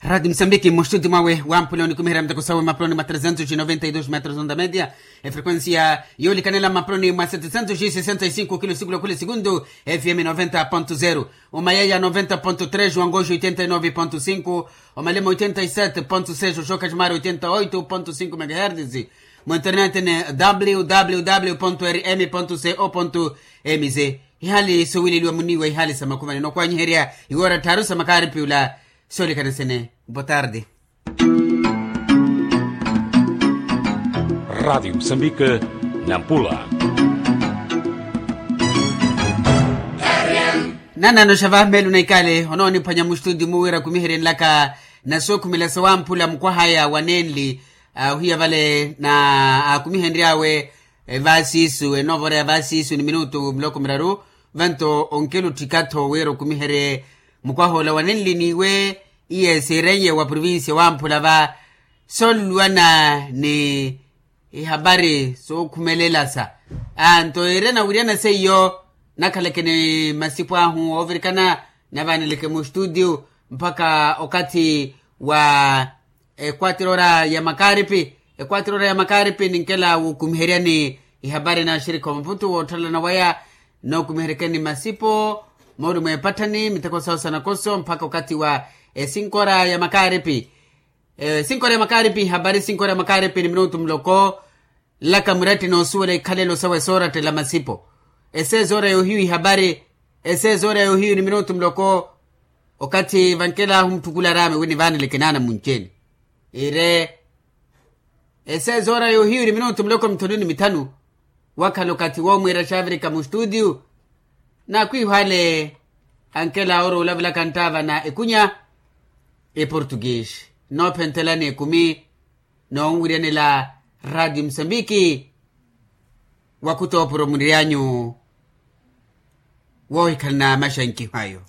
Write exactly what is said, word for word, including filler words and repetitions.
Rati musambiki mustudi mwawe wamphula onikumiherya muteko sawe mapuloni mwa tresentos y noventa y dos metros onda media. Efrekuensia yoolikanela mapuloni mwa setesentos y sesenta y cinco kilo sikula khula sikundu. Fm noventa ponto zero, omayaya noventa ponto tres, wangoxo oitenta y nove ponto cinco, omalema oitenta y sete ponto seis, oxoka ximari oitenta y oito ponto cinco megahertis. Mu internet ni www rm co mz. Ihali sowileliwa muniwa ihali sa makhumani nokwanyiherya iwora tharu sa makaripi ula. Soolikana sene. Boa tarde. Rati musambika, nampula. Nanano xa vamelu na ikale onooniphwanya mustudi mu wira kumiheryenlaka nasookhumela sawamphula mukwahaya wa nenli. Ohiya vale na akumihenry'awe vaasiisu enoovora ya vaasiisu ni minutu muloko miraru. Vanto onkela otthika-tho wira okumiherye mukwah'ola wa nenli n'iwe. Iye siiren'ye wa provincia wamphula va sooluluwana ni ihapari sookhumelela sa. Anto ire nawiryana seiyo nakhaleke ni masipu ahu oovirikana navaaneleke mustudio mpakha okathi wa ekwatira ora ya makaripi. Ekwatira ora ya makaripi ninkela wukumiheryani ihapari na axirikhi omaputu woottalana waya nookumiheryekeni masipo moori mweepatthani miteko sawo sa nakoso mpakha okathi wa esinko ora ya makaripi. Esinko ora ya makaripi ihapari esinko ora ya makaripi ni minutu muloko. Nlaka muratti noosuwela ikhalelo sawe soorattela masipo. Eseeza ora yoohiyu ihapari eseeza ora yoohiyu ni minutu muloko. Okathi vankelahu mutthukula araame wi nivaaneleke naana munci-ene ire eseeza ora yoohiyu ni minutu muloko mithanu ni mithanu. Wakhala okathi woomwiira xaavirika mustudio. N'akhwiihwale ankela ora olavelaka nttaava na ekunya eportuguese. Nnoophentelani ekumi noonwiryanela radio musambiki. Wakhuta oopuro muniryanyu woohikhalana maxankiho ayo.